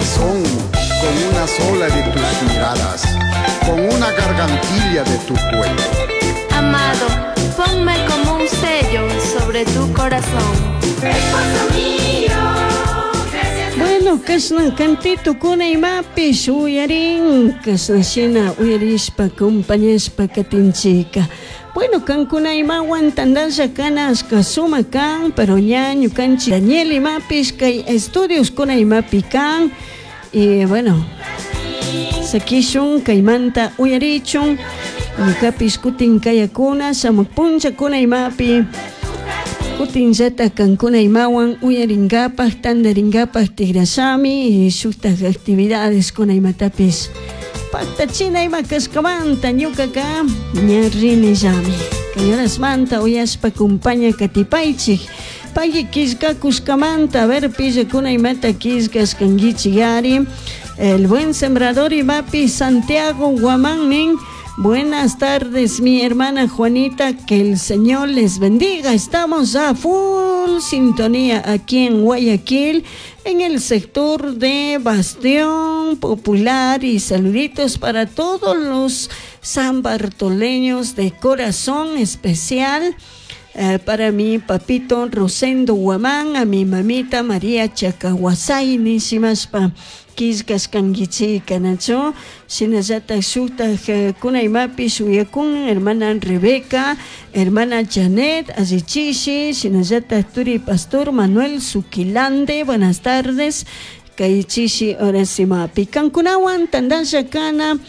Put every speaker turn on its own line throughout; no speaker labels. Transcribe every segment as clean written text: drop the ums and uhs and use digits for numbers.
corazón con una sola de tus miradas, con una gargantilla de tu cuello.
Amado, ponme como un sello sobre tu corazón.
Esposo mío, gracias.
Bueno, kashna cantito kuna imapish uyarin, kashna shina uyarishpa, compañashpa katinchika. Bueno, kankuna imawan tandalla kanashka suma kan, pero ña ñukanchik Daniel imapish kay estudios kuna imapi kan. Y bueno, sakishun kaymanta uyarichun, ñukapish kutin kayakuna, shamuq punllakuna imapi. Kutinllata kankuna imawan uyarinkapak, tandarinkapaj tigrashami y shuktak actividades kuna imatapish paktachina ima kashkamanta ñukaka ña rinillami. Kay horasmanta uyashpa kumpaña katipaychik. Pagui killkakushkamanta, a ver pillakuna imata killkashkankichik ari. El buen sembrador imapi Santiago Guamán nin. Buenas tardes, mi hermana Juanita, que el Señor les bendiga. Estamos a full sintonía aquí en Guayaquil, en el sector de Bastión Popular, y saluditos para todos los sanbartoleños de corazón especial. Para mi papito Rosendo Guamán, a mi mamita María Chacahuasay, nishimashpa killkashkankichika, nachu? Shinallatak shuktak kuna imapish uyakun, hermana Rebeca, hermana Janet Allichishi, shinallatak turi pastor Manuel Suquilande, buenas tardes, kay chishi horas imapi. Kankunawan tandalla kana,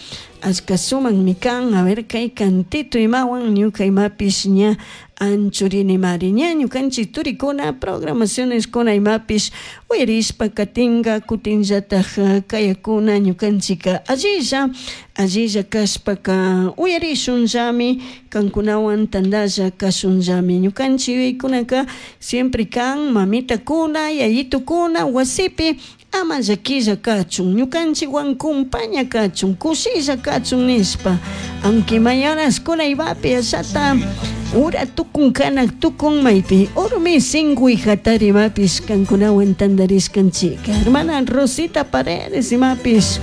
ashka suman mikan, a ver kay cantito imawan, ñuka imapish ña anchurini mari ña ñukanchik turikuna programaciones kuna imapish uyarishpa katinga kutinllataj kayakuna ñukanchika allilla allilla kashpaka uyarishunllami kankunawan tandalla kashunllami ñukanchik yuyaykunaka siempre kan mamitakuna yayitukuna wasipi ama llaquilla kachun ñukanchikwan kumpaña kachun kushilla kachun nishpa aunque mañanas kuna imapi ashata ura tukun kanak tukun maypi urmi singuy hatari imapis kankunawan tandarishkanchika hermana Rosita Paredes imapis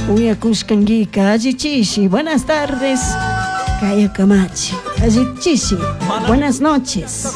uyakushkankika allichishi buenas tardes Kaya Kamachi allichishi buenas noches.